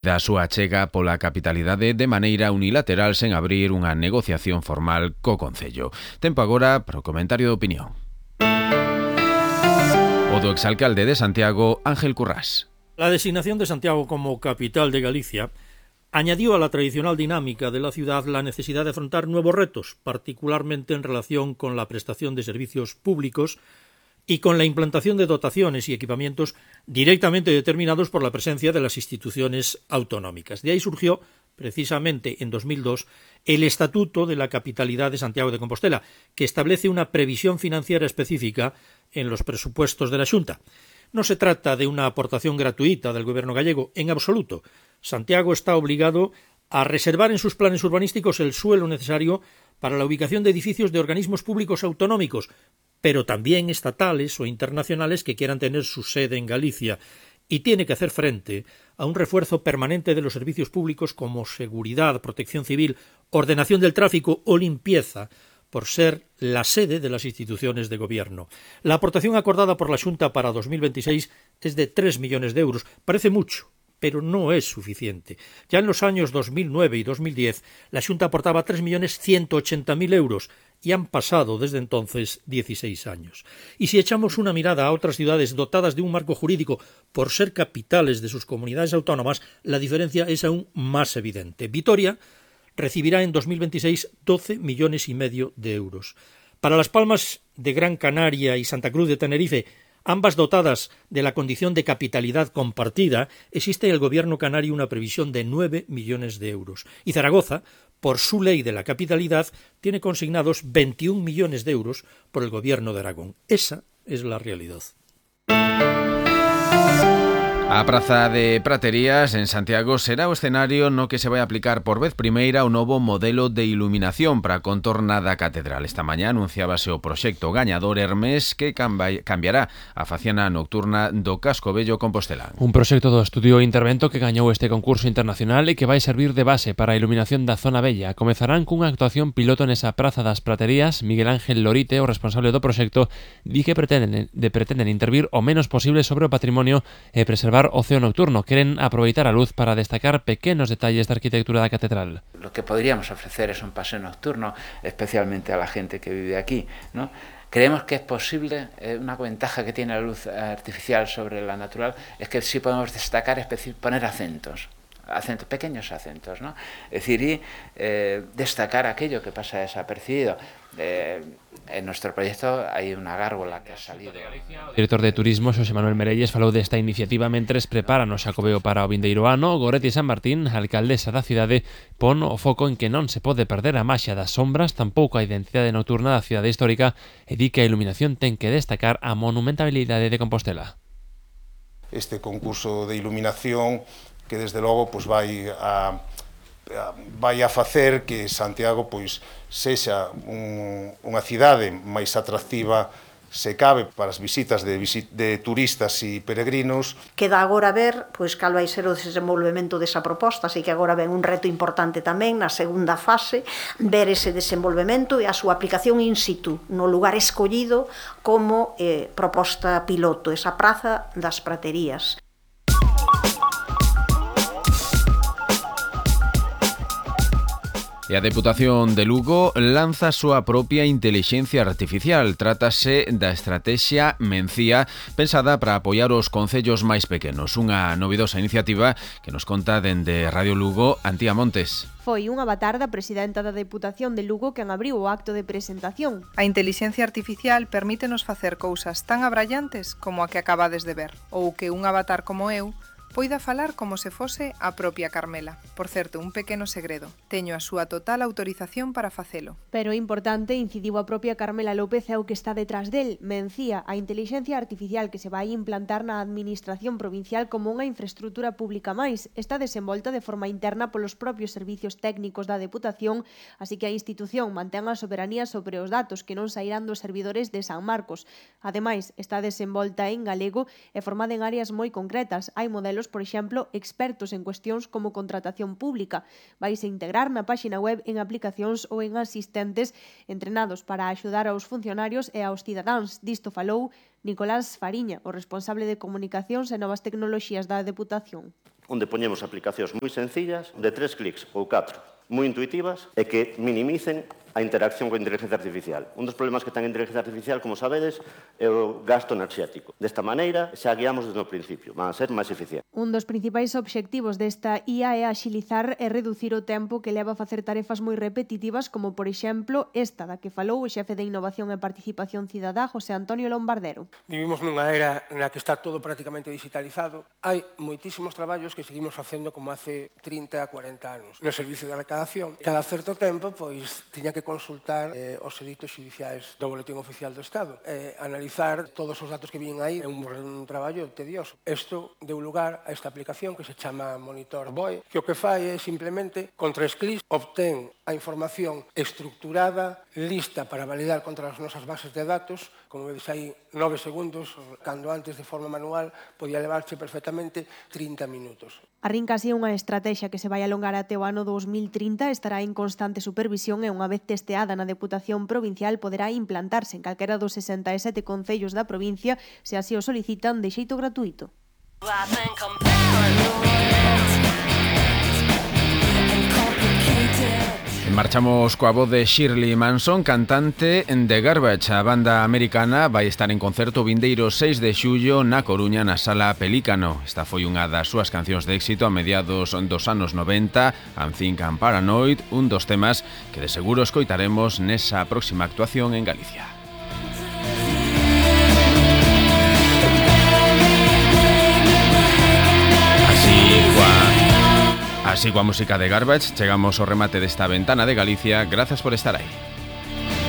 Da súa chega pola capitalidade de maneira unilateral sen abrir unha negociación formal co Concello. Tempo agora para o comentario de opinión. O do exalcalde de Santiago, Ángel Currás. La designación de Santiago como capital de Galicia añadió a la tradicional dinámica de la ciudad la necesidad de afrontar nuevos retos, particularmente en relación con la prestación de servicios públicos y con la implantación de dotaciones y equipamientos directamente determinados por la presencia de las instituciones autonómicas. De ahí surgió, precisamente en 2002, el Estatuto de la Capitalidad de Santiago de Compostela, que establece una previsión financiera específica en los presupuestos de la Xunta. No se trata de una aportación gratuita del gobierno gallego, en absoluto. Santiago está obligado a reservar en sus planes urbanísticos el suelo necesario para la ubicación de edificios de organismos públicos autonómicos, pero también estatales o internacionales que quieran tener su sede en Galicia, y tiene que hacer frente a un refuerzo permanente de los servicios públicos como seguridad, protección civil, ordenación del tráfico o limpieza, por ser la sede de las instituciones de gobierno. La aportación acordada por la Xunta para 2026 es de 3 millones de euros. Parece mucho, pero no es suficiente. Ya en los años 2009 y 2010, la Xunta aportaba 3.180.000 euros y han pasado desde entonces 16 años. Y si echamos una mirada a otras ciudades dotadas de un marco jurídico por ser capitales de sus comunidades autónomas, la diferencia es aún más evidente. Vitoria recibirá en 2026 12,5 millones de euros. Para Las Palmas de Gran Canaria y Santa Cruz de Tenerife, ambas dotadas de la condición de capitalidad compartida, existe en el gobierno canario una previsión de 9 millones de euros. Y Zaragoza, por su ley de la capitalidad, tiene consignados 21 millones de euros por el gobierno de Aragón. Esa es la realidad. A Praza de Praterías en Santiago será o escenario no que se vai aplicar por vez primeira o novo modelo de iluminación para a contorna da catedral. Esta mañá anunciábase o proxecto gañador Hermes que cambiará a faciana nocturna do Casco Vello compostelán. Un proxecto do estudio Intervento que gañou este concurso internacional e que vai servir de base para a iluminación da zona bella. Comezarán cunha actuación piloto nesa Praza das Praterías. Miguel Ángel Lorite, o responsable do proxecto, di que pretenden intervir o menos posible sobre o patrimonio e preservar o ceo nocturno. Queren aproveitar a luz para destacar pequenos detalles da arquitectura da catedral. Lo que podríamos ofrecer es un paseo nocturno, especialmente a la gente que vive aquí, ¿no? Creemos que es posible, una ventaja que tiene la luz artificial sobre la natural es que sí podemos destacar, es decir, poner acentos, pequeños acentos, ¿no? Es decir, y destacar aquello que pasa desapercibido. En nuestro proyecto hai unha gárgola que ha salido. O director de Turismo, Xosé Manuel Merelles, falou desta iniciativa mentres preparan o Xacobeo para o vindeiro ano. Goretti San Martín, a alcaldesa da cidade, pon o foco en que non se pode perder a maxia das sombras, tampouco a identidade nocturna da cidade histórica, e di que a iluminación ten que destacar a monumentabilidade de Compostela. Este concurso de iluminación que desde logo pois vai a facer que Santiago pois sexa unha cidade máis atractiva se cabe para as visitas de turistas e peregrinos. Queda agora ver pois cal vai ser o desenvolvemento desa proposta, así que agora ven un reto importante tamén na segunda fase, ver ese desenvolvemento e a súa aplicación in situ, no lugar escollido como proposta piloto, esa Praza das Praterías. E a Deputación de Lugo lanza a súa propia intelixencia artificial. Trátase da estrategia Mencía, pensada para apoiar os concellos máis pequenos. Unha novidosa iniciativa que nos conta dende Radio Lugo, Antía Montes. Foi unha avatar da presidenta da Deputación de Lugo quen abriu o acto de presentación. A intelixencia artificial permítenos facer cousas tan abrallantes como a que acabades de ver, ou que un avatar como eu poida falar como se fose a propia Carmela. Por certo, un pequeno segredo. Teño a súa total autorización para facelo. Pero importante, incidiu a propia Carmela López é o que está detrás del. Mencía, a intelixencia artificial que se vai implantar na administración provincial como unha infraestrutura pública máis. Está desenvolta de forma interna polos propios servicios técnicos da Deputación, así que a institución mantén a soberanía sobre os datos que non sairán dos servidores de San Marcos. Ademais, está desenvolta en galego e formada en áreas moi concretas. Hai modelos, por exemplo, expertos en cuestións como contratación pública. Vaise integrar na páxina web en aplicacións ou en asistentes entrenados para axudar aos funcionarios e aos cidadáns. Disto falou Nicolás Fariña, o responsable de Comunicacións e Novas Tecnoloxías da Deputación. onde poñemos aplicacións moi sencillas, de 3 clics ou 4, moi intuitivas e que minimicen a interacción coa inteligencia artificial. Un dos problemas que ten a inteligencia artificial, como sabedes, é o gasto enerxético. Desta maneira, xa guiamos desde o principio, van a ser máis eficientes. Un dos principais obxectivos desta IA é axilizar e reducir o tempo que leva a facer tarefas moi repetitivas, como, por exemplo, esta da que falou o xefe de Innovación e Participación Cidadá, José Antonio Lombardero. Vivimos nunha era na que está todo prácticamente digitalizado. Hai moitísimos traballos que seguimos facendo como hace 30 a 40 anos. No servicio de recadación, cada certo tempo, pois, tiña que consultar os editos xudiciais do Boletín Oficial do Estado. Analizar todos os datos que viñen aí é un traballo tedioso. Isto deu lugar a esta aplicación que se chama Monitor BOE, que o que fai é simplemente, con 3 clics, obtén a información estructurada, lista para validar contra as nosas bases de datos. Como vedes aí, 9 segundos, cando antes de forma manual podía levarche perfectamente 30 minutos. Arrinca así unha estrategia que se vai alongar até o ano 2030, estará en constante supervisión e unha vez testeada na Deputación Provincial poderá implantarse en calquera dos 67 concellos da provincia se así o solicitan de xeito gratuito. Marchamos coa voz de Shirley Manson, cantante de Garbage. A banda americana vai estar en concerto vindeiro 6 de xullo na Coruña, na Sala Pelícano. Esta foi unha das súas cancións de éxito a mediados dos anos 90, I'm Think I'm Paranoid, un dos temas que de seguro escoitaremos nesa próxima actuación en Galicia. Así coa música de Garbage chegamos ao remate desta ventana de Galicia. Grazas por estar aí.